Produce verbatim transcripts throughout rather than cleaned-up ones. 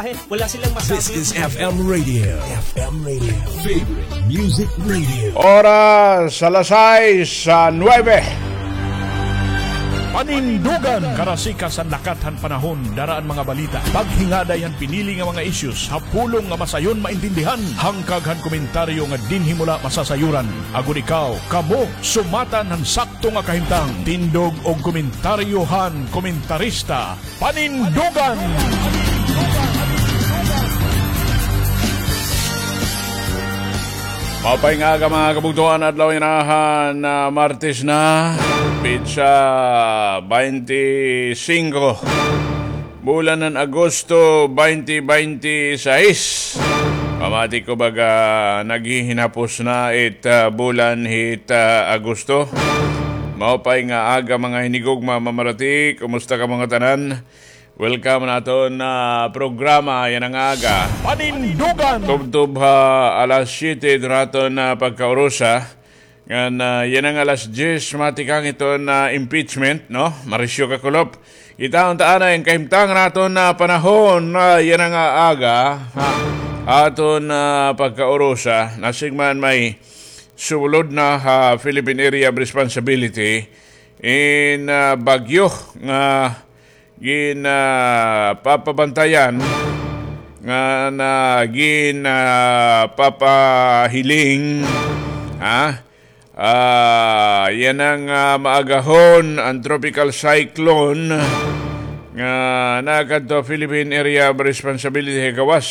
Ay, wala silang masabi. This is F M Radio. F M Radio. Favorite Music Radio. Oras alas sais, ah, nuebe. Panindugan, karasikas han lakat han panahon, dara an mga balita, paghingaday han pinili nga mga issues, ha pulong nga masayon maintindihan, hangkag han komentaryo nga dinhi mo la masasayuran. Agod ikaw, kamo, sumatan han sakto nga kahimtang. Tindog og komentaryo han komentarista. Panindugan! Maupay nga aga, mga kabugtoan, adlaw yana han, ah, Martes na, petsa baynte singko, bulan han Agosto, baynte baynte sais. Pamati ko baga naghihinapos na it, ah, bulan hit, ah, Agosto. Maupay nga aga, mga hinigugma, mamarati, kumusta kamo nga tanan? Welcome han aton, ah, programa yana nga aga. Panindugan! Tubtob ha alas siyete iton aton, ah, pagkaurusa. Ngan, ah, yana nga alas diyes, matikang iton, ah, impeachment, no? Marisyo ka kulop. Kita unta anay an kahimtang han aton, ah, panahon, ah, yana nga aga, ha? Aton, ah, pagkaurusa, nasing man may sulod na ha Philippine Area of Responsibility in, ah, bagyo nga gin, ah, papabantayan, nga na gin, ah, papahiling, ha? Ah, yana nga, ah, maagahon an tropical cyclone nga nakadto Philippine Area of Responsibility ha gawas.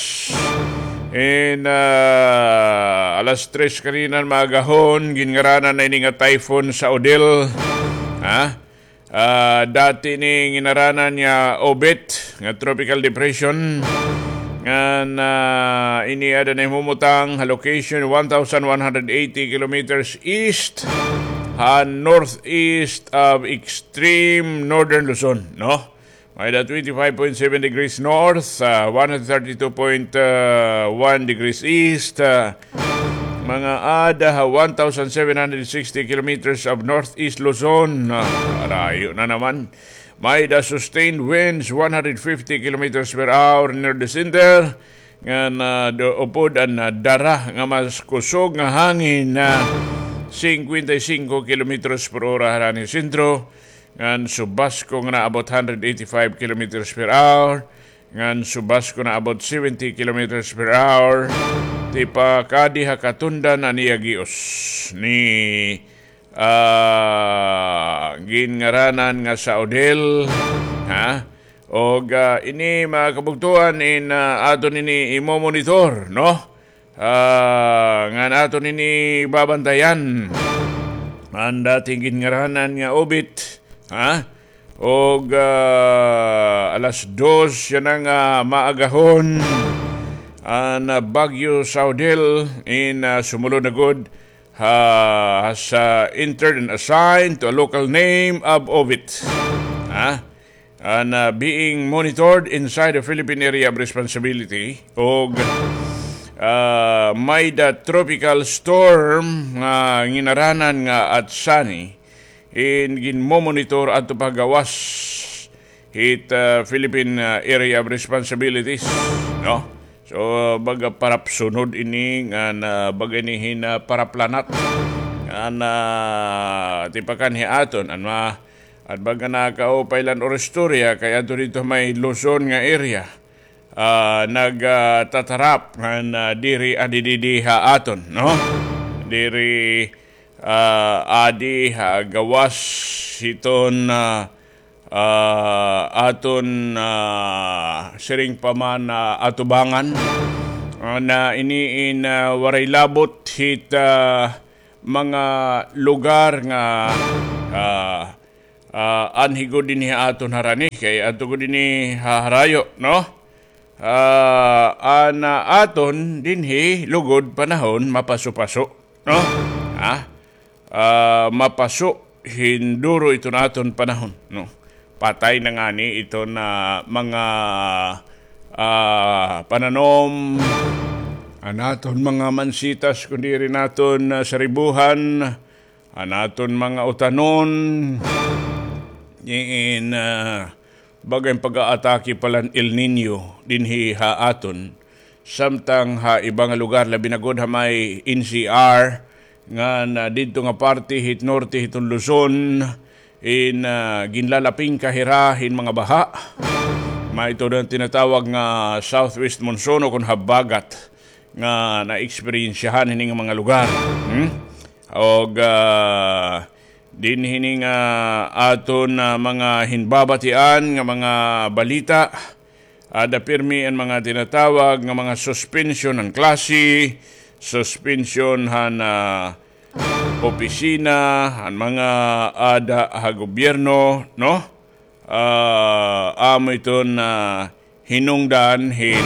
In, ah, alas tres kanina maagahon, ginngaranan na ini nga Typhoon Saudil. Ha? Ah, dati ini ginngaranan nga Obet nga tropical depression. Ngan, ah, ini ada nahimumutang ha location one thousand one hundred eighty kilometers east ha northeast of extreme northern Luzon, no? May-ada twenty-five point seven degrees north, ah, one hundred thirty-two point one degrees east, ah, mga ada ha one thousand seven hundred sixty kilometers of northeast Luzon. Ah, rayo na naman. May-ada sustained winds one hundred fifty kilometers per hour near the center. Ngan, ah, do-, upod an, ah, dara nga mas kusog nga hangin na singkwenta y singko kilometros por ora harani sentro. Ngan subasko nga naabot hundred eighty-five kilometers per hour. Ngan subasko naabot seventy kilometers per hour. Tipakadi ha katundan an iya gios ni, ah, ginngaranan nga Saudil, ha? Og, ah, ini, mga kabugtoan, in, ah, aton ini imo-monitor, no? Ah, ngan aton ini babantayan. An dati ginngaranan nga Obet, ha? Og, ah, alas dos yana nga maagahon, an, ah, Bagyo Saudil in, ah, sumulod na gud ha, has, ah, entered and assigned to a local name of Obet. Ha? And, ah, being monitored inside the Philippine Area of Responsibility. Og, ah, may-ada tropical storm nga ginngaranan nga Atsani. In ginmo-monitor adto pa ha gawas hit, ah, Philippine, ah, Area of Responsibilities, no? So, baga parapsunod ini nga na, baga ini hin, ah, paraplanat. Nga na, tipakan hi aton, an ma-, an baga nakaupay la an istorya, kay adto didto may Luzon nga area. Ah, nag, ah, tatarap nga na diri adi didi ha aton, no? Diri, ah, adi ha gawas hiton, ah, ah, aton, ah, siring pa man, ah, atubangan. Ah, na ini in, ah, waray labot hit, ah, mga lugar nga, ah, ah, anhi gud dinhi ha aton harani, kay adto gud dinhi ha harayo, no? Ah, an, ah, aton dinhi lugod panahon mapaso-paso, no? Ha? Ah, mapaso, hinduro iton aton panahon, no? Patay na ngani iton, ah, mga, ah, pananom, an aton mga mansitas, kun diri naton, ah, saribuhan, an aton mga utanon, diin, ah, Baga hin pag-aatake pa la hin El Niño dinhi ha aton. Samtang ha iba nga lugar, labi na gud ha may N C R, ngan didto nga parte hit norte hiton Luzon, in, ah, ginlalapingka hira hin mga baha. May ito na tinatawag nga southwest monsoon o kon habagat nga naeksperyensyahan hini nga mga lugar. Hmm? Og, ah, dinhi hini nga aton, ah, mga hinbabatian nga mga balita, ada pirmi an mga tinatawag nga mga suspension han klase, suspension han, ah, opisina, han mga ada ha gobyerno, no? Ah, amo iton, ah, hinungdan hin,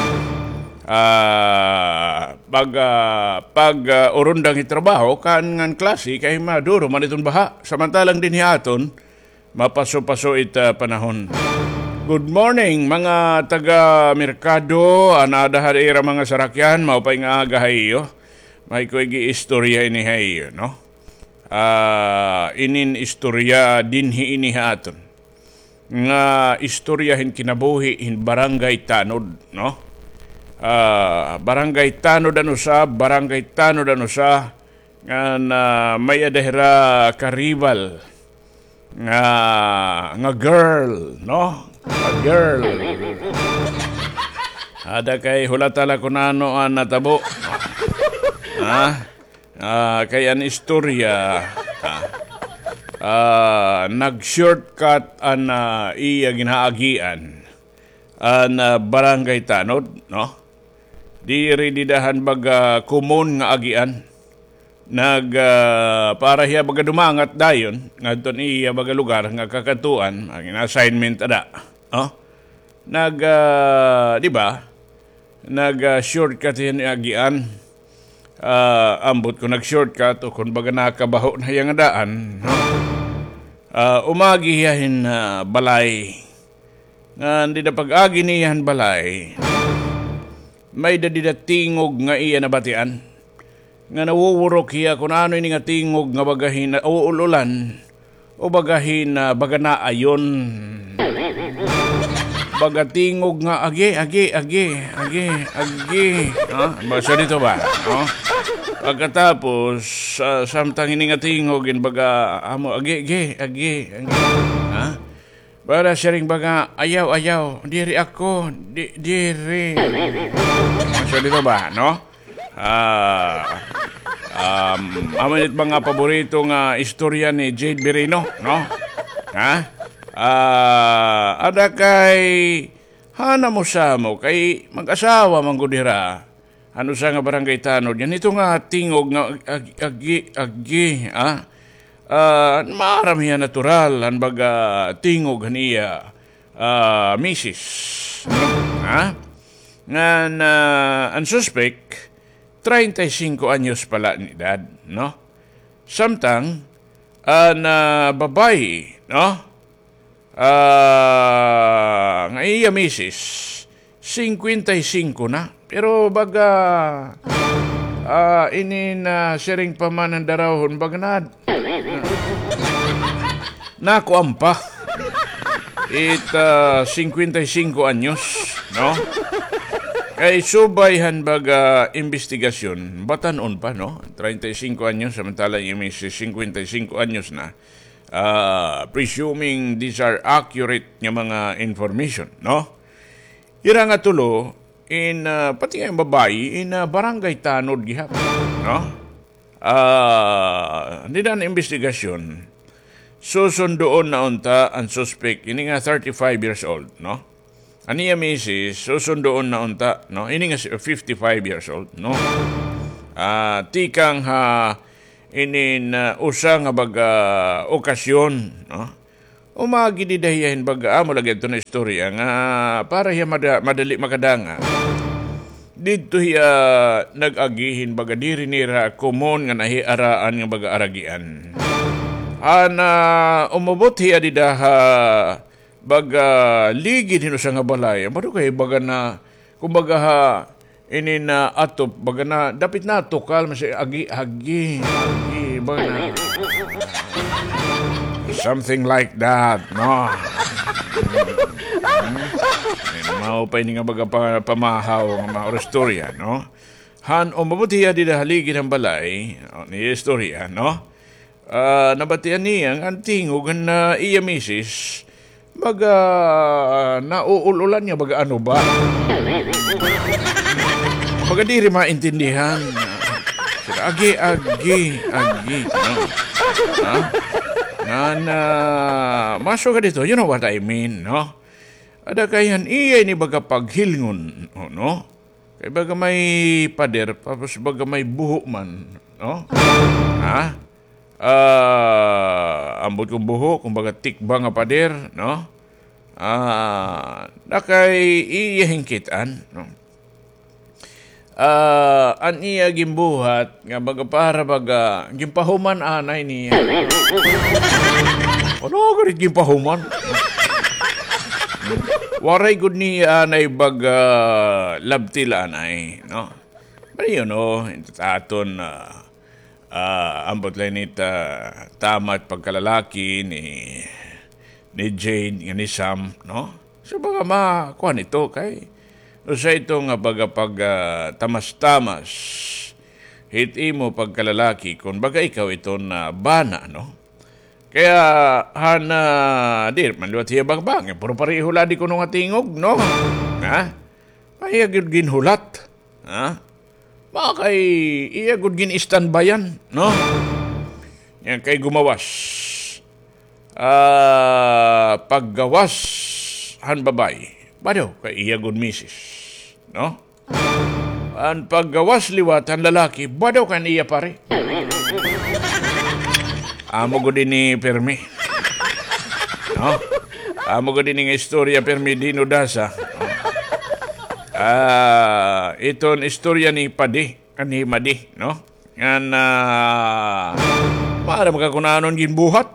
ah, pag, ah, pag, ah, urundang hin trabaho kan ngan klase kay maduro man iton baha. Samantalang dinhi aton, mapaso-paso it, ah, panahon. Good morning, mga taga merkado, an ada ha ira mga sarakyan, maupay nga aga ha iyo. May ko ig-iistorya ini ha iyo, no? Ah, inin istorya dinhi ini ha aton. Nga istorya hin kinabuhi hin Barangay Tanod, no? Ah, Barangay Tanod an usa, Barangay Tanod an usa, ngan may-ada hira karibal nga, nga girl, no? Nga girl. Ada kay hulata la kun ano an natabo. Ha? Ah, kay an istorya, ah, ah, nag-shortcut an, ah, iya ginaagian, an, ah, Barangay Tanod, no? Diri dida han baga common nga agian. Nag, ah, para hiya baga dumangat dayon ngadto han iya baga lugar nga kakadtuan, an assignment ada, no? Nag, ah, di ba? Nag, ah, shortcut hiya nga agian. Ah, ambot kon nag-shortcut o kon baga nakabaho na hiya nga daan, no? Ah, umagi hiya hin, ah, balay. Ngan dida pag-agi niya han balay, may-ada dida tingog nga iya nabatian. Nga nawuwurok hiya kun ano ini nga tingog nga baga hin nauul-ulan o baga hin, ah, baga naayon. Baga tingog nga, "Agi, agi, agi, agi, agi." Ha? Basta dito ba? No? Pagkatapos, ah, samtang ini nga tingog, in baga, amo, "Agi, agi, agi, agi." Ha? Para siring baga, "Ayaw, ayaw, diri ako, di, diri." So, dito ba, no? Ah, um, amo it mga paborito nga istorya ni Jade Birino, no? Ha? Ah, ada kay, hana mo sa mo, kay mag-asawa man gud hira. An usa nga barangay tanod, ngan ito nga tingog nga ag-, agi, agi, ah? Ah, maaram hiya natural, an baga tingog han iya, ah, misis. Ha? Ngan, ah, an suspek, treinta y cinco anyos pa la an edad, no? Samtang, an, ah, babaye, no? Ah, nga iya misis, singkwenta y singko na. Pero baga, ah, ini na siring pa man an darawhon, baga na, nakuan pa. It, ah, singkwenta y singko anyos, no? Kay subay han baga imbestigasyon, batan-on pa, no? Treinta y cinco anyos, samantala iya misis, singkwenta y cinco anyos na. Ah, presuming these are accurate nga mga information, no? Ira nga tulo, in, ah, pati nga babaye, in, ah, barangay tanod gihap, no? Ah, dida an imbestigasyon, susundoon na unta an suspek, ini nga thirty-five years old, no? An iya misis, susundoon na unta, no? Ini nga si-, fifty-five years old, no? Ah, tikang ha inin, ah, usa nga baga okasyon, no? Umagi dida hiya hin baga, amo lagi adto na istorya nga para hiya mada-, madali makadanga. Didto hiya nag-agi hin baga diri nira komon nga nahiaraan nga baga aragian. An, ah, umabot hiya dida ha baga ligid hin usa nga balay. Amo daw kay baga na, kumbaga ha, ini na atop, baga na, dapit na tukal, masi agi, agi, agi, baga na. Something like that, no? Maupay ini nga baga pa-, pamahaw nga mga istorya, no? Han umabot hiya dida haligi han balay, o, niya istorya, no? Ah, nabatian niya nga an tingog han, ah, iya misis, baga, ah, nauul-ulan niya, baga ano ba? Baga diri maintindihan. Agi, agi, agi, no? Ha? Ngan, ah, masugad ito, you know what I mean, no? Ada kay han iya ini baga paghilngon, o, no? Kay baga may pader, tapos baga may buho man, no? Ha? Ah, ambot kon buho, kumbaga tikba nga pader, no? Ah, na kay iya hinkit-an, no? Ah, an iya ginbuhat nga baga para baga ginpahuman anay niya. Ano gud it ginpahuman? Waray gud niya anay baga labtil anay, no? Pero yun, no, ito aton, ah, ah, ambot la ini ta, tama it pagkalalaki ni, ni Jade nga ni Sam, no? So, baga makuan ito kay usa ito nga baga pag, ah, tamas-tamas hit imo pagkalalaki kon baga ikaw iton, ah, bana, no? Kaya, han, ah, di man liwat hiya bangbang, eh, pero pareho la di kuno nga tingog, no? Ha? Kaya gud ginhulat, ha? Baka kay iya gud gin-standbyan, no? Yan kay gumawas. Ah, paggawas han babaye, bado kay iya gud misis, no? An paggawas liwat han lalaki, bado kan iya pare. Amo gud ini pirmi. No? Amo gud ini nga istorya pirmi dinudasa. Ah, iton istorya ni Padi, kan ni Madi, no? Ngan, ah, para makakunanon ginbuhat.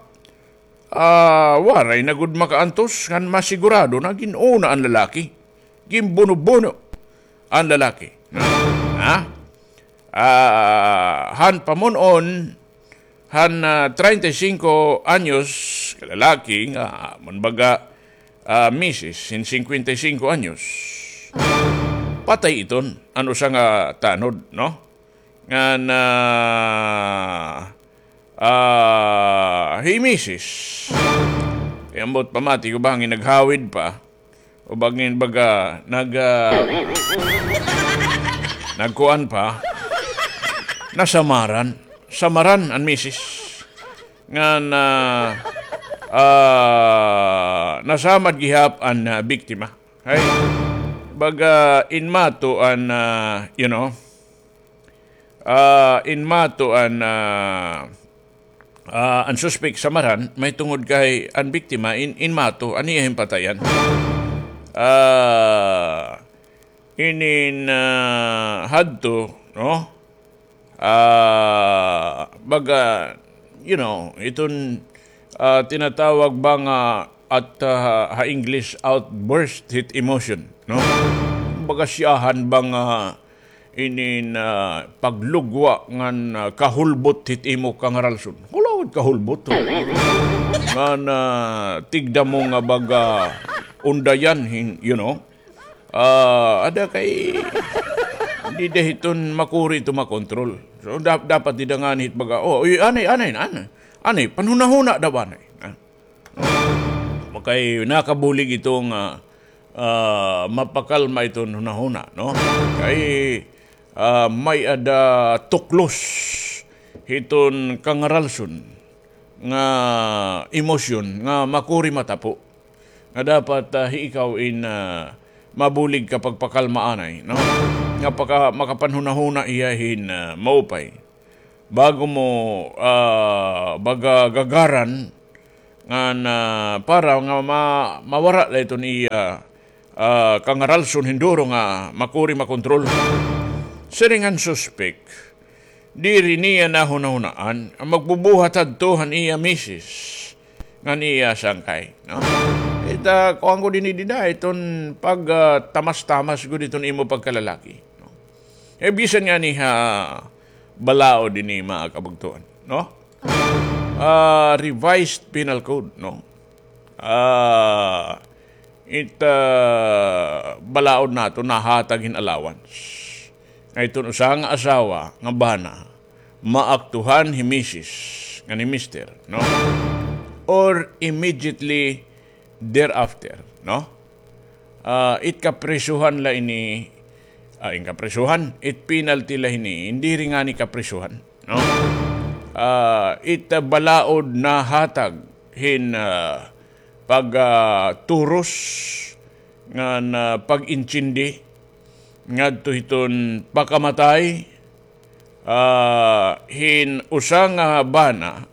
Ah, waray na gud makaantos ngan masigurado na gin-una an lalaki. Ginbuno-buno an lalaki. Ha? Ah, han pamun-on, han, ah, treinta y cinco anyos ka lalaki nga, man baga, ah, misis, hin cincuenta y cinco anyos. Patay iton, an usa nga tanod, no? Ngan, ah, ah, hi misis. Kay ambot pamati ko bangin naghawid pa. O bangin baga nag, ah, nagkuan pa. Nasamaran. Samaran an misis. Ngan, ah, ah, nasamad gihap an, ah, biktima. Hay, baga inmato an, ah, you know, ah, inmato an, ah, ah, an suspek samaran, mahitungod kay an biktima in-, inmato an iya ginpatayan. Ah, inin, ah, hadto, no? Ah, baga, you know, iton, ah, tinatawag ba nga at, ah, ha English, outburst hit emotion, no? Baga siyahan ba nga inin, ah, paglugwa ngan, ah, kahulbot hit imo kangaralson. Wala gud kahulbot, oh. Ngan, ah, tigda mo nga baga undayan, hin-, you know? Ah, ada kay dida hiton makuri ito makontrol. So, dap-, dapat dida ngani hit baga, oh, uy, anay, anay, anay. Anay, panhunahuna daw anay. Ah. Makay nakabulig ito nga, ah, mapakalma iton hunahuna, no? Kay, ah, may-ada tuklos hiton kangaralson nga emosyon nga makuri matapo. Nga dapat, ah, hi ikaw in, ah, mabulig ka pagpakalma anay, no? Nga paka-, makapanhunahuna hiya hin, ah, maupay. Bago mo, ah, baga gagaran, ngan, ah, para nga ma-, mawara la iton iya, ah, kangaralson hin duro nga makuri makontrol. Siring han suspek, diri niya nahunahunaan nga magbubuhat hadto han iya misis ngan iya sangkay, no? Ita, kuan gud ini dida, iton pag, ah, tamas-tamas gud iton imo pagkalalaki, no? Eh, bisan ngani ha balaod ini, mga kabugtoan, no? Ah, Revised Penal Code, no? Ah, it, ah, balaod naton nahatag hin allowance. Nga iton usa nga asawa nga bana, maaktuhan hi misis ngan hi mister, no? Or immediately thereafter, no? Ah, it kaprisuhan la ini, ah, in kaprisuhan, it penalty la ini, in diri ngani kaprisuhan, no? Ah, it, ah, balaod nahatag hin, ah, pag, ah, turos ngan, ah, pag-intindi ngadto hiton pakamatay, ah, hin usa nga bana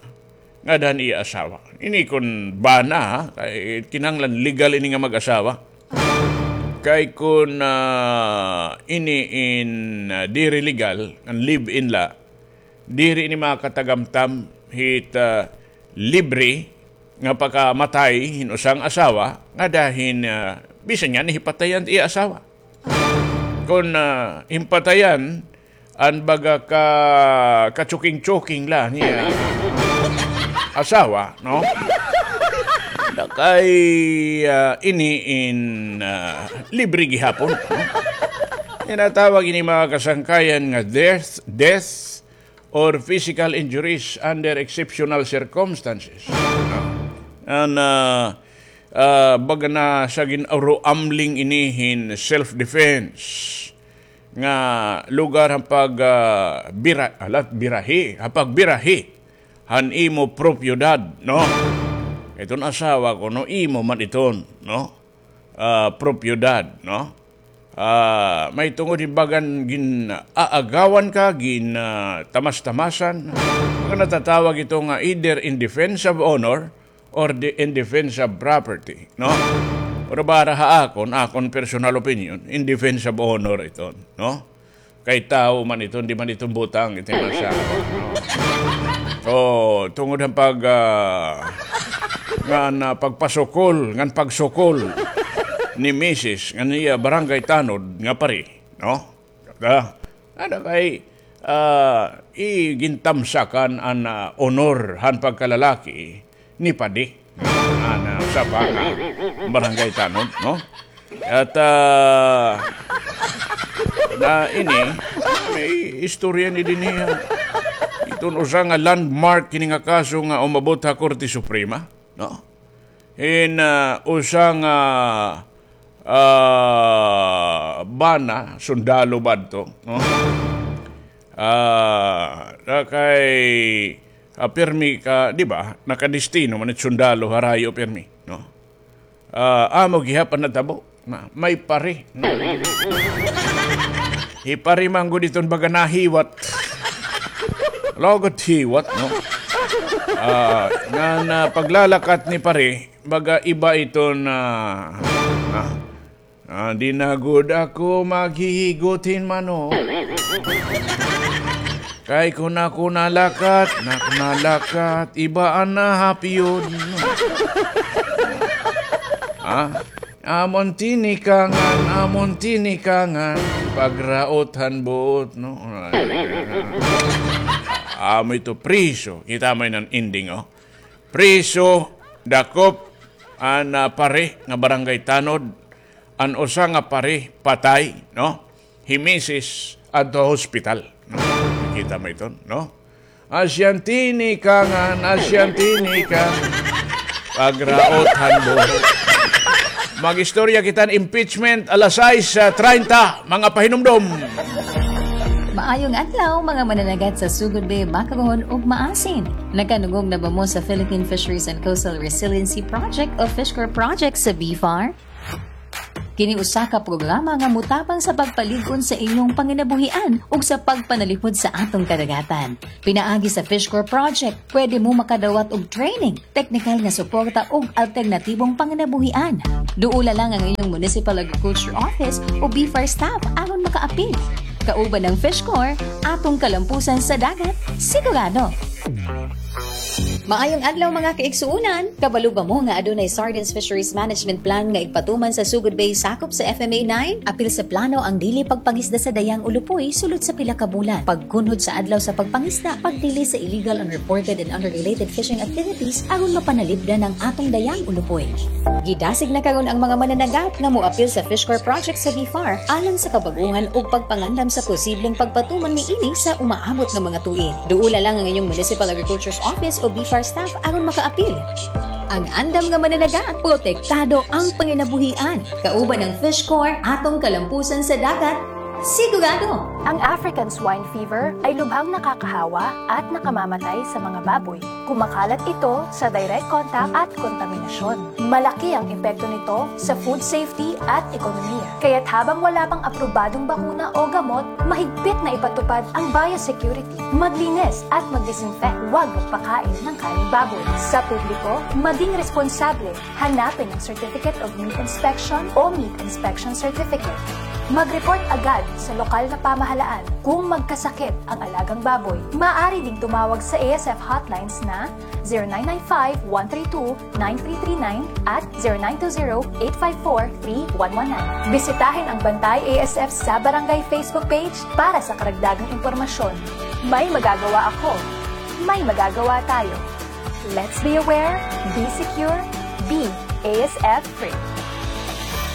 ngada han iya asawa. Ini kon bana, ha, kay kinahanglan legal ini nga mag-asawa. Kay kon, ah, ini in, ah, diri legal, an live-in la, diri ini makatagamtam hit, ah, libre nga pakamatay hin usa nga asawa ngada hin, ah, bisan ngani hipatayan it iya asawa. Kon, ah, himpatayan an baga ka, katsuking-tsuking la niya asawa, no? Kay, ah, ini in, ah, libre gihapon, no? Tinatawag ini, mga kasangkayan, nga death, death or physical injuries under exceptional circumstances, no? An, ah, ah, baga na sa gin-aruamling ini hin self-defense nga lugar han pag, ah, bira-, alat, birahi, han pagbirahi han imo propiedad, no? Iton asawa ko, no, imo man iton, no? Ah, propiedad, no? Ah, mahitungod hin bagan gin-aagawan ka, gin-, ah, tamas-tamasan. Baga natatawag ito nga either in defense of honor or the, in defense of property, no? Pero para ha akon, akon personal opinion, in defense of honor iton, no? Kay tawo man iton, di man iton butang, ito man sa akon, no? So, tungod han pag, ah, ngan, ah, pagpasukol, ngan pagsukol ni misis, ngan iya barangay tanod nga pari, no? Ah, ada kay, ah, igintamsakan an, ah, honor han pagkalalaki ni padi. An, ah, usa pa nga barangay tanod, no? At, ah, na ini, may istorya ni dinhi, ah. Iton usa nga landmark kini nga kaso nga umabot ha Korte Suprema, no? Hin, ah, usa nga, ah, bana, sundalo ba adto, no? Ah, na kay, ah, pirmi ka, di ba? Nakadestino man it sundalo, harayo pirmi, no? Ah, amo gihap an natabo. Na, may pari. Hi pari man gud iton baga nahiwat. Lugod hiwat, no? Ah, ngan, ah, paglalakat ni pari, baga iba iton, ah, ah, ah, di na gud ako maghihigot hin manok. Kay kon ako nalakat, nak-, nalakat, iba an nahapyod. Ah, amon tinikangan, amon tinikangan, pagraot han buot, no? Amo ito, priso. Kita mo an ending, oh. Priso, dakop, an, ah, pari nga barangay tanod, an usa nga pari, patay, no? Hi misis adto ha hospital. Kita mo iton, no? Asya an tinikangan, asya an tinikangan. Pagraot han buot. Mag-istorya kita hin impeachment, alas sais, ah, treinta, mga pahinumdom. Maayong adlaw, mga mananagat sa Sugod Bay, Bacogon, ug Maasin. Nakadungog na ba mo sa Philippine Fisheries and Coastal Resiliency Project o FishCorp Project sa BFAR? Kini usa ka programa nga motabang sa pagpalig-on sa inyong panginabuhian ug sa pagpanalipod sa atong kadagatan. Pinaagi sa FishCorp Project, pwede mo makadawat og training, teknikal nga suporta ug alternatibong panginabuhian. Duola lang ang inyong Municipal Agriculture Office o BFAR staff aron makaapil. Kauban ang FishCorp, atong kalampusan sa dagat, sigurado. Maayong adlaw, mga kaigsuonan! Kabalo ba mo nga adunay Sardines Fisheries Management Plan nga igpatuman sa Sugod Bay, sakop sa F M A nine? Apil sa plano ang dili pagpangisda sa dayang ulupoy sulod sa pila ka bulan, pagkunhod sa adlaw sa pagpangisda, pagdili sa illegal, unreported, and unregulated fishing activities aron mapanalipdan ang atong dayang ulupoy. Gidasig na karon ang mga mananagat nga moapil sa Fish Corps project sa BFAR alang sa kabag-ohan ug pagpangandam sa posibleng pagpatuman niini sa umaabot nga mga tuig. Duola lang ang inyong Municipal Agriculture's Office o BFAR staff aron makaapil. Ang andam nga mananagat, protektado ang panginabuhian. Kauban ang Fish Corps, atong kalampusan sa dagat, sigurado! Ang African swine fever ay lubhang nakakahawa at nakamamatay sa mga baboy. Kumakalat ito sa direct contact at kontaminasyon. Malaki ang epekto nito sa food safety at ekonomiya. Kaya't habang wala pang aprobadong bakuna o gamot, mahigpit na ipatupad ang biosecurity. Maglinis at mag-disinfect. Huwag magpakain ng karneng baboy. Sa publiko, maging responsable. Hanapin ang Certificate of Meat Inspection o Meat Inspection Certificate. Mag-report agad sa lokal na pamahalaan kung magkasakit ang alagang baboy. Maaari ding tumawag sa A S F hotlines na zero nine nine five, one three two, nine three three nine at zero nine two zero, eight five four, three one one nine. Bisitahin ang Bantay A S F sa Barangay Facebook page para sa karagdagang impormasyon. May magagawa ako. May magagawa tayo. Let's be aware, be secure, be A S F free.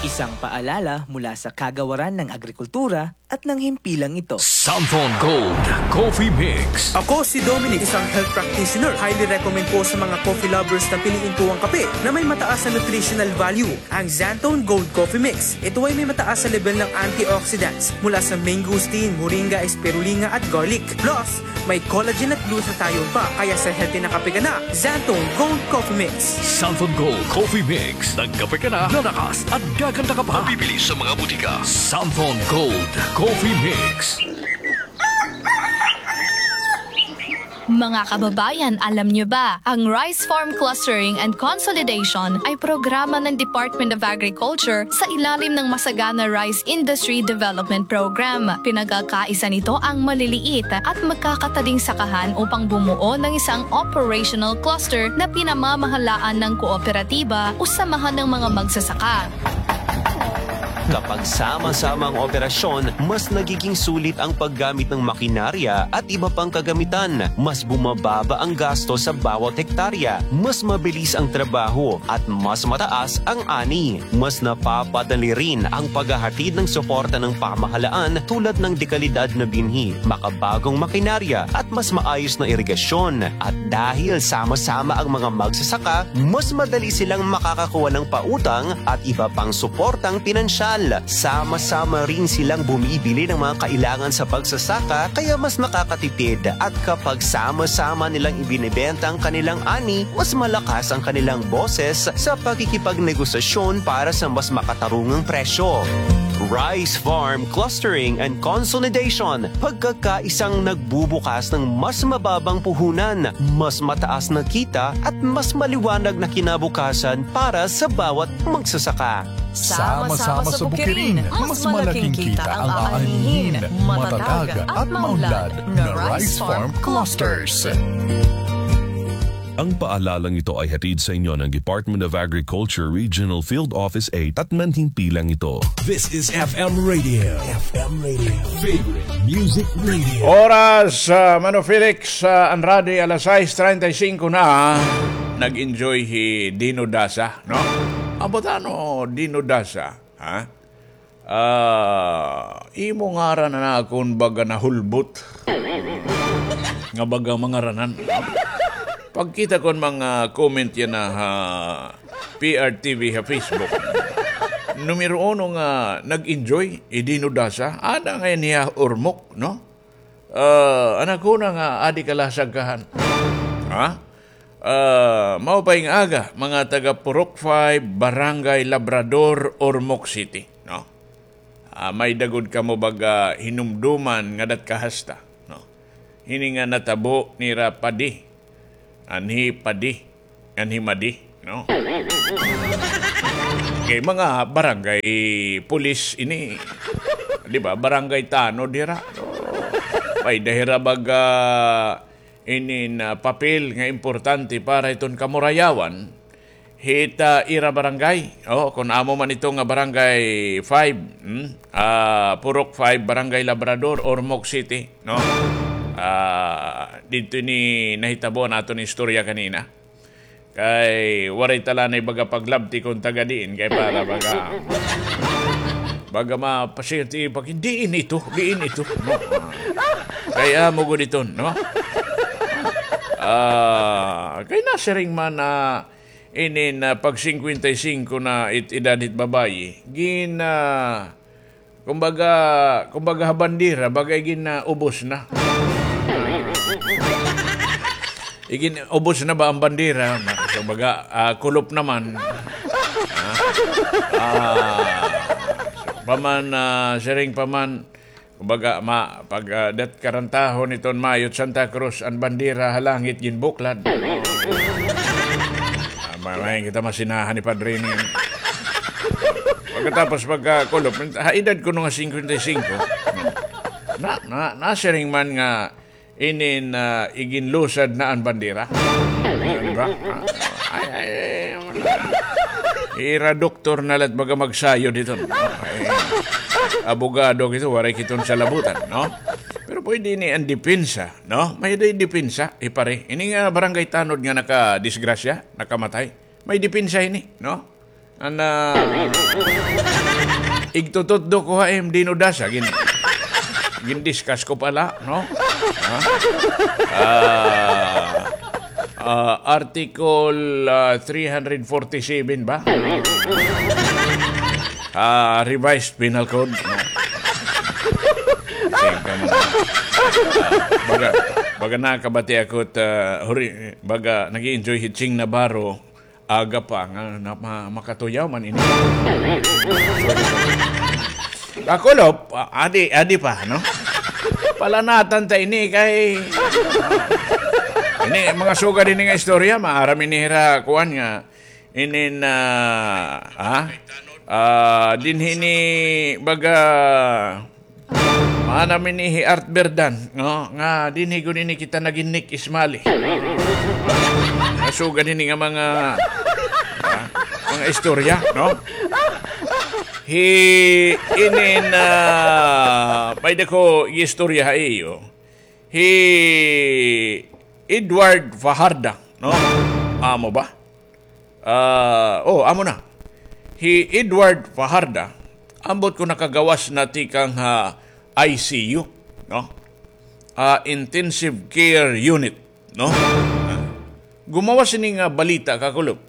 Isang paalala mula sa Kagawaran ng Agrikultura at ng himpilang ito. Santhon Gold Coffee Mix. Ako si Dominic, isang health practitioner. Highly recommend po sa mga coffee lovers na piliin po ang kape na may mataas na nutritional value. Ang Xanthone Gold Coffee Mix. Ito ay may mataas na level ng antioxidants mula sa mangosteen, moringa, spirulina at garlic. Plus, may collagen at glutathione pa, kaya sa healthy na kape ka na, Xanthone Gold Coffee Mix. Santhon Gold Coffee Mix. Nagkape ka na, lalakas at gaganda ka pa. Mabibili sa mga butika. Santhon Gold Coffee Mix. Mga kababayan, alam niyo ba, ang Rice Farm Clustering and Consolidation ay programa ng Department of Agriculture sa ilalim ng Masagana Rice Industry Development Program. Pinagkakaisa nito ang maliliit at magkakatading sakahan upang bumuo ng isang operational cluster na pinamamahalaan ng kooperatiba o samahan ng mga magsasaka. Kapag sama-sama ang operasyon, mas nagiging sulit ang paggamit ng makinarya at iba pang kagamitan. Mas bumababa ang gasto sa bawat hektarya, mas mabilis ang trabaho, at mas mataas ang ani. Mas napapadali rin ang paghahatid ng suporta ng pamahalaan tulad ng dekalidad na binhi, makabagong makinarya, at mas maayos na irigasyon. At dahil sama-sama ang mga magsasaka, mas madali silang makakakuha ng pautang at iba pang suportang pinansyal. Sama-sama rin silang bumibili ng mga kailangan sa pagsasaka, kaya mas nakakatipid. At kapag sama-sama nilang ibinebenta ang kanilang ani, mas malakas ang kanilang boses sa pakikipagnegosasyon para sa mas makatarungang presyo. Rice Farm Clustering and Consolidation, pagkakaisang nagbubukas ng mas mababang puhunan, mas mataas na kita at mas maliwanag na kinabukasan para sa bawat magsasaka. Sama-sama sa bukirin, mas malaking kita ang aanihin. Matatag at maunlad na Rice Farm Clusters. Ang paalalang ito ay hatid sa inyo ng Department of Agriculture Regional Field Office eight at manhimpilang ito. This is F M Radio. F M Radio. Favorite Music Radio. Oras, ah, Mano Felix, ah, Andrade, alas sais treinta y cinco na. Nag-enjoy hi Dino Dasa, no? Ambot ano, Dino Dasa, ha? Ah, imo ngaran na akon baga nahulbot. Nga baga mangaranan. Pagkita kon mga comment yana ha P R T V ha Facebook. Numero uno nga nag-enjoy, hi Dino Dasa. Ada ngay-an hiya ormok, no? Ah, an akon nga adi kalasag kahan. Ha? Ah, maupay nga aga, mga taga Purok five, Barangay Labrador, Ormoc City, no? Ah, may-ada gud kamo baga hinumduman nga dat kahasta, no? Hini nga natabo nira padi. Anhi padi. Anhi madi, no? Kay mga barangay pulis ini. Di ba? Barangay tanod hira. So, may-ada hira baga inin, ah, papel nga importante para iton kamurayawan, hit, ah, ira barangay. O, kon amo man ito nga Barangay five, hmm? Ah, Purok five, Barangay Labrador, Ormoc City, no? Ah, didto ini nahitabo an aton istorya kanina. Kay waray ta la nay baga paglabti kon taga diin, kay para baga, baga mapasyente pa, diin ito, diin ito, no? Kay amo gud iton, no? Ah, kay nasiring man na inin, ah, pag singkwenta y singko na it edad hit babayi, gin, ah, kumbaga, kumbaga ha bandera, baga igin, ah, ubos na. Igin ubos na ba an bandera? Kumbaga, ah, kulop naman. Ah, ah, pa man, ah, siring pa man, kumbaga, ma-, pag, ah, dat karantahon iton Mayo, Santa Cruz, an bandera ha langit ginbuklad. Ah, ma-, may kita masinahan ni Padre ni. Pagkatapos pagkakulop, ha edad kuno nga singkwenta y singko, na, na, nasiring man nga inin, ah, iginlusad na an bandera. Di ba? Ah, ay, ay, ay, ira doktor na la it baga magsayod hiton. Ay, abogado kito, waray kiton salabutan, no? Pero pwede ini an depensa, no? May-ada depensa, eh, pare. Ini nga barangay tanod nga nakadisgrasya, nakamatay. May depensa ini, no? An, ah, igtututdo ko ha im dinudasa, gin-, gindiscuss ko pa la, no? Ha? Ah, ah, Article, ah, three hundred forty-seven ba? Ah, Revised Penal Code, no? Same ka man. Ah, baga, baga nakabati ako it, ah, huri-, baga nag-i-enjoy hi Ching Navarro, aga pa nga na, ma-, makatuyaw man ini. Kakulop, ah, adi, adi pa, no? Palanatan ta ini kay, ini, mga sugad ini nga istorya, maaram ini hira, kuan nga, inin, ah, ha? Ah, dinhi ni baga, maanam ini hi Art Berdan, no? Nga dinhi gud ini kita nagin Nick Ismali. Nasugan ini nga mga, ah, mga istorya, no? Hi inin, ah, may-ada ko istorya ha iyo. Hi Edward Fajarda, no? Amo ba? Ah, oh, amo na. Hi Edward Fajarda, ambot ko nakagawas na tikang ha I C U, no? Ah, intensive care unit, no? Ah, gumawas ini nga balita, kakulop.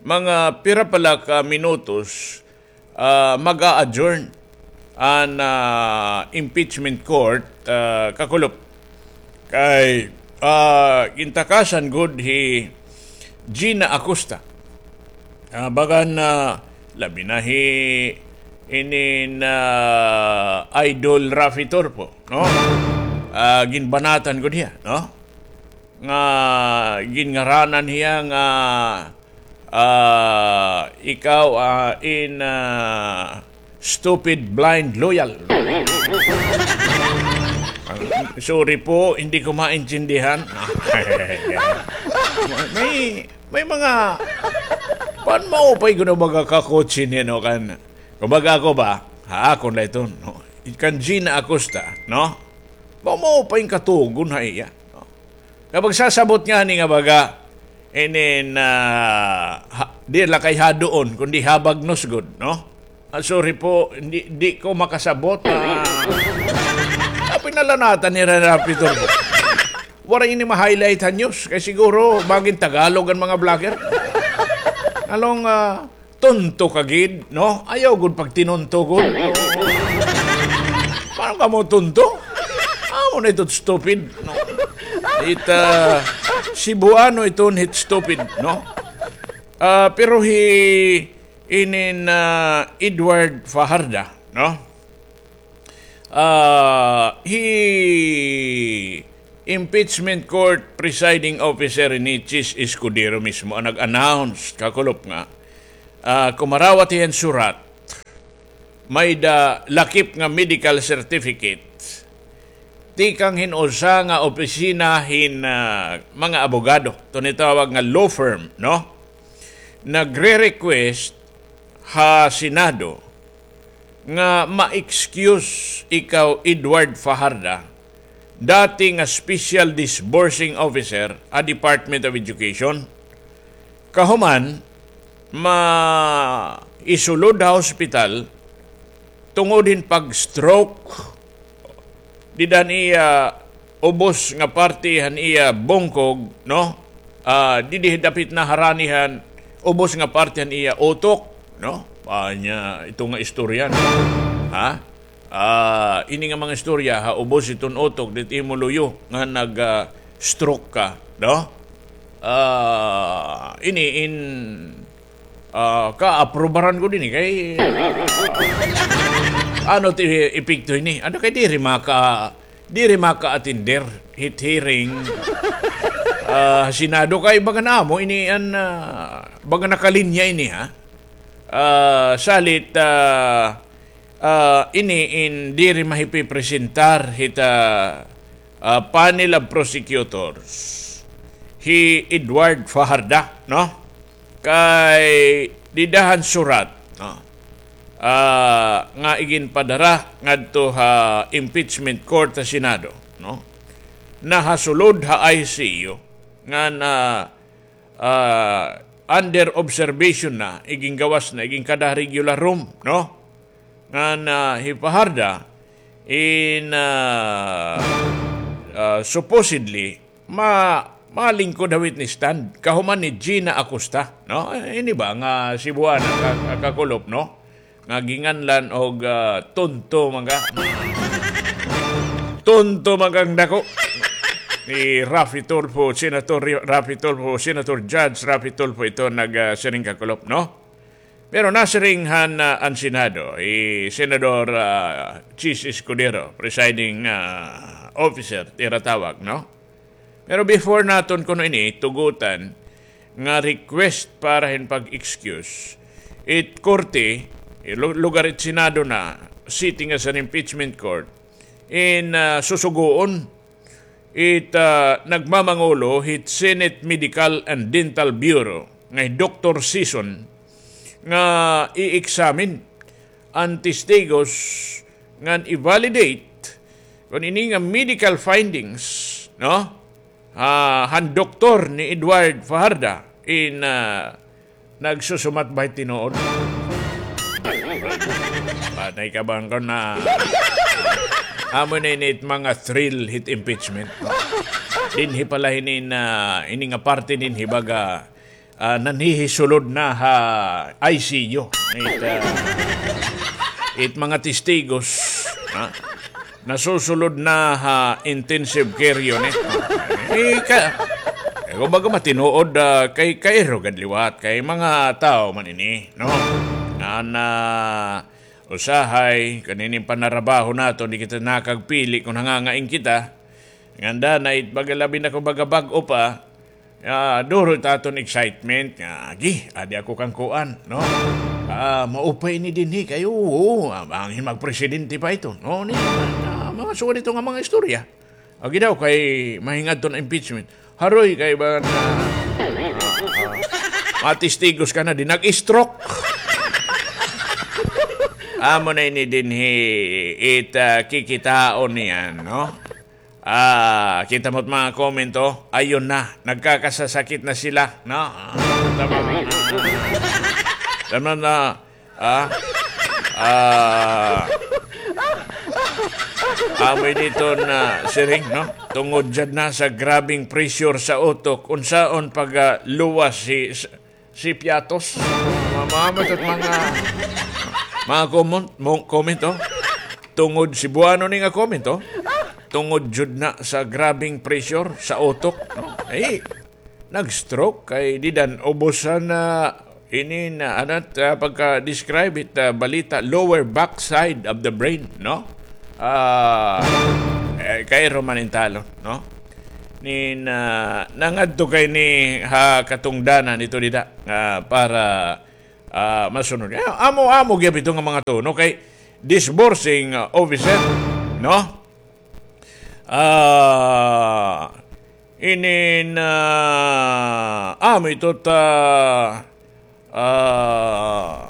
Mga pira pa la ka minutos, ah, mag-a-adjourn an, ah, impeachment court, ah, kakulop. Kay, ah, gintakasan gud hi Gina Acosta. Ah, bagan, ah, labi na hi inin, ah, Idol Raffy Tulfo, no? Ah, ginbanatan gud hiya, no? Nga ginngaranan hiya nga, ah, ikaw, ah, in, ah, stupid blind loyal. Sorry po, hindi ko maintindihan. May, may mga, pan maupay kuno baga kakutsin, no, kan, kumbaga ako ba, ha, akon la iton, no? Kan Gina Acosta, no? Ba maupay katugon ha iya, no? Kapag sasabot ngani nga baga, inin, ah, ha, di la kay haduon, kundi habagnos gud, no? Ah, sorry po, di, di ko makasabot. Ah, ah, pinalanatan ni Rana Pitor. Waray ini ma-highlight ha news, kay siguro magin Tagalog an mga vlogger. Along, ah, tonto ka gid, no? Ayaw gud pagtinonto gud. Paano ka mo tonto? Amo na ito stupid, no? It, ah, Cebuano iton hit stupid, no? Ah, pero hi inin, ah, Edward Fajarda, no? Ah, hi impeachment court presiding officer ini Chiz Escudero mismo an nag-announce, kakulop nga, ah, kumarawat hiya hin surat, may-ada lakip nga medical certificate tikang hin usa nga opisina hin, ah, mga abogado, ito an itawag nga law firm, no? Nagre-request ha Senado nga ma-excuse ikaw, Edward Fajarda, dati nga special disbursing officer ha Department of Education. Kahuman, maisulod ha hospital tungod hin pag-stroke. Dida han iya ubos nga parte han iya bungkog, no? Ah, didi dapit na harani han ubos nga parte han iya utok, no? Anya, ito nga istorya, no? Ha? Ah, ini nga mga istorya, ha, ubos iton utok, didi imo luyo nga nag, ah, stroke ka, no? Ah, ini in, ah, kaaprubaran ko dinhi kay, ano ti epekto ini? Ano kay diri maka, diri maka-attender hit hearing, ah, Senado kay baga na amo ini an, ah, baga nakalinya ini, ha? Ah, salit, ah, ah, ini in diri mahipipresentar hit, ah, ah, panel of prosecutors hi Edward Fajarda, no? Kay dida han surat, no? Ah, nga iginpadara ngadto ha impeachment court ha Senado, no? Nahasulod ha I C U nga na, ah, under observation na, igingawas na, iginkada ha regular room, no? Ngan hi Fajarda in, ah, ah, supposedly ma-, malingkod ha witness stand kahuman ni Gina Acosta, no? Eh, ini ba nga Cebuana ka-, ka-, kakulop, no? Nga ginganlan og, ah, tonto man ka. Tonto man ka nga dako. Ni Raffy Tulfo, Senator Ri-, Raffy Tulfo, Senator Judge Raffy Tulfo ito nag, ah, siring kakulop, no? Pero nasiring han, ah, an Senado, hi Senador, ah, Chiz Escudero, presiding, ah, officer, tinatawag, no? Pero before naton kuno ini tugutan nga request para hin pag-excuse, it korte, lu-, lugar it Senado na, sitting as an impeachment court, in, ah, susugoon it, ah, nagmamangulo hit Senate Medical and Dental Bureau nga hi Doktor Sison nga i-examine an testigos ngan i-validate kon ini nga medical findings, no? Ah, han doktor ni Edward Fajarda in, ah, nagsusumat ba it tinuod? Patay ka bangko na. Amo na ini it mga thrill hit impeachment. Dinhi pala ini na, ini nga parte dinhi baga, ah, nanhihisulod na ha I C U. It, ah, it mga testigos, ha? Nasusulod na ha intensive care unit. Eh, ka-, eh, kumbaga matinuod, ah, kay, kay kairo gad liwat, kay mga tawo man ini, no? Nga na usahay, kanining panarabaho naton, di kita nakagpili kon hangangain kita. Nganda na it baga labi na kon baga bag-o pa, ah, duro it aton excitement nga, agi, adi ako kan kuan, no? Ah, maupay ini dinhi kay, oo, ah, bangin magpresidente pa ito, no? Ni, ah, mga sugad ito nga mga istorya. Agi daw kay mahingadto na impeachment. Haroy kay ba na, ah, ah, matistigos ka na di nag-stroke. Amo na ini dinhi it, ah, kikitaon niyan, no? Ah, kita mo't mga comment, oh. Ayun na, nagkakasasakit na sila, no? Ah, tama, tama na, ah, ah, amoy dito na siring, no? Tungod jud na sa grabing pressure sa utok, unsaon pag, ah, luwas si, si Piatos. Mamamat at mga, mga comment, mo-, comment, oh. Tungod, Cebuano ni nga comment, oh. Tungod jud na sa grabing pressure sa utok, no? Ay, nag-stroke kay di dan ubusan na ini na, ano, ah, pagka-describe it, ah, balita, lower back side of the brain, no? Ah, eh, kay Roman Intalo, no? Ni na, nangadto kay ni ha katungdanan ito dida, ah, para, ah, masunod. Eh, amo-amo gyud ito nga mga tuno kay disbursing, ah, officer, no? Ah, inin, ah, amo ito ta, ah,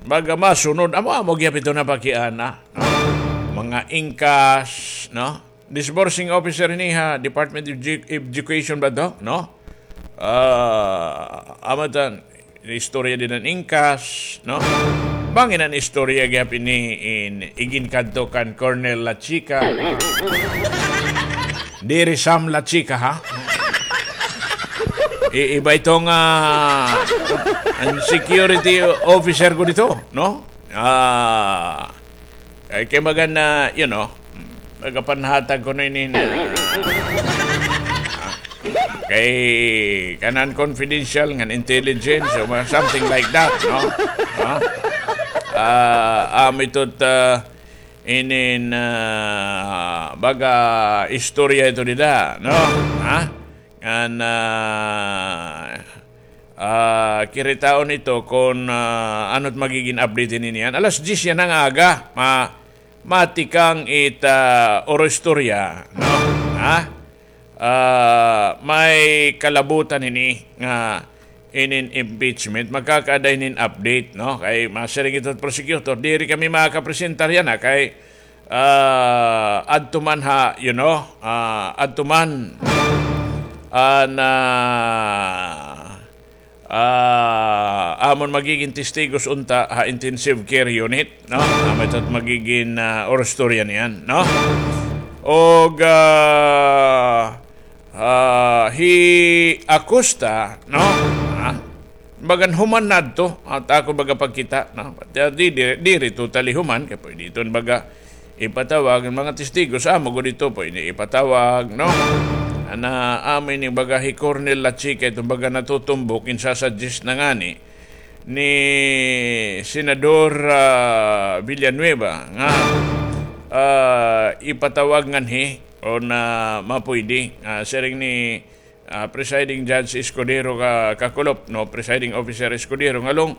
baga masunod. Amo, amo gihap ito na pakiana, no? Mga ingkas, no? Disbursing officer ini ha Department of Edu-, Education ba to, no? Ah, amo tan, istorya dida han ingkas, no? Bangin an istorya gihap ini in iginkadto kan Colonel Lachica. Diri Sam Lachica, ha? I-, iba ito nga, ah, an security officer ko dito, no? Ah, kay, kay baga na, you know, baga panhatag kuno ini na, ah, kay kanan confidential ngan intelligence o mga something like that, no? No? Ah, amo ito ta, inin, ah, baga istorya ito dida, no? Ha? Ngan, ah, ah, kiritaon ito kon, ah, ano it magigin update hini niyan. Alas diyes yana nga aga, ma-, matikang it, ah, oro istorya, no? Ha? Ah, may kalabutan hini nga inin impeachment, magkakaada hinin update, no? Kay masiring ito prosecutor, diri kami makakapresentar yana, kay, ah, adto man ha, you know, ah, adto man, ah, na, ah, amon magigin testigos unta ha intensive care unit, no? Amo ito it magigin, ah, oro istorya niyan, no? Og, ah, ah, hi Acosta, no? Ah, bagan human na adto, at ako baga pagkita, no? Di, di, diri totally human, kay pwede iton baga ipatawag an mga testigos, amo gud ito, pwede ipatawag, no? Ana, amo ini baga hi Colonel Lachica, iton baga natutumbok, ginsasuggest na ngani ni Senador, ah, Villanueva nga, ah, ipatawag nganhi o na mapuydi, ah, siring ni, ah, Presiding Judge Escudero ka, kakulop, no, Presiding Officer Escudero, ngalong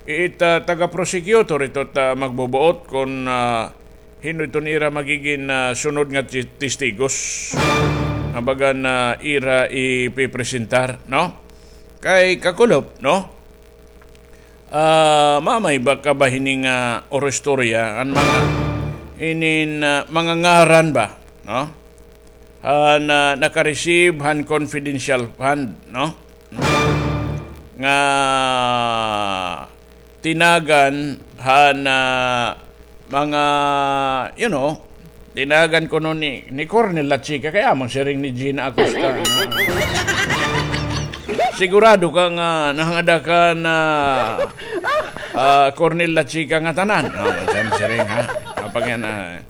it, ah, taga-prosecutor ito ta magbubuot kon, ah, hin-o iton ira magigin, ah, sunod nga ti-, testigos nga bagan ira ipipresentar, no? Kay kakulop, no? Ah, mamay ba ka ba hini nga oro istorya, an mga, inin, ah, mga ngaran ba, no? Han, ah, naka-receive han confidential fund, no? Nga tinagan han, ah, mga, you know, tinagan kuno ni, ni Colonel Lachica, kay amo siring ni Gina Acosta. Sigurado ka nga nahangada ka na, ah, Colonel Lachica nga tanan? No, siring, ha? Kapag yan, ah,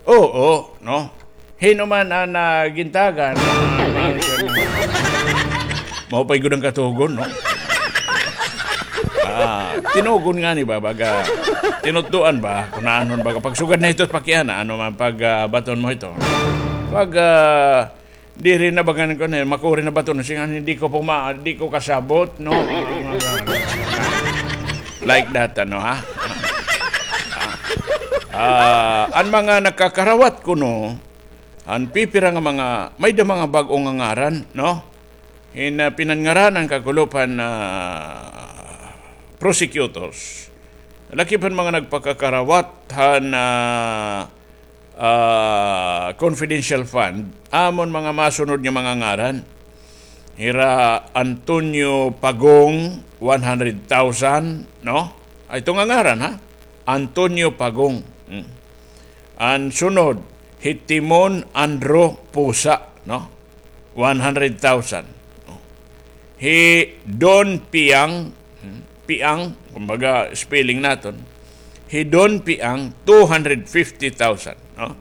oo, no? Hin-o man an, ah, gintagan, ah, mao pay gud an katugon, no? Ah, tinugon ngani ba, baga, tinutdoan ba, kunanon baga, pagsugad na ito, pakiana, ano man, pag, ah, baton mo ito. Pag, ah, diri na bagan ko na, makuri na baton, singa, hindi ko puma-, di ko kasabot, no? Like that, ano, ha? Ah, an mga nakakarawat kuno, an pipira nga mga, may-ada mga bag-o nga ngaran, no? Hin, ah, pinanngaranan kakulop han, ah, prosecutors. Lakip han mga nagpakakarawat han, ah, ah, confidential fund, amon mga masunod nga mga ngaran. Hira Antonio Pagong, one hundred thousand, no? Ay, ito nga ngaran, ha? Antonio Pagong. Hmm. An sunod, hi Timon Andro Pusa, no? One hundred thousand. Hi Don Piang, hmm, Piang, kumbaga spelling naton. Hi Don Piang, two hundred fifty thousand, no?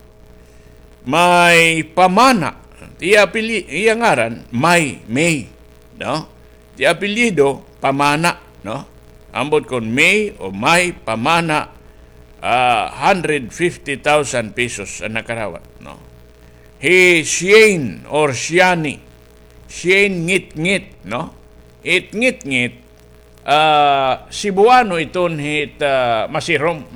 May Pamana, iya apelyi-, iya ngaran, May, May, no? It apelyido, Pamana, no? Ambot kon May o May Pamana, ah, hundred fifty thousand pesos an nakarawat, no? Hi Shane or Shani, Shane Ngitngit, no? It Ngitngit, ah, Cebuano iton hit, ah, Masirom.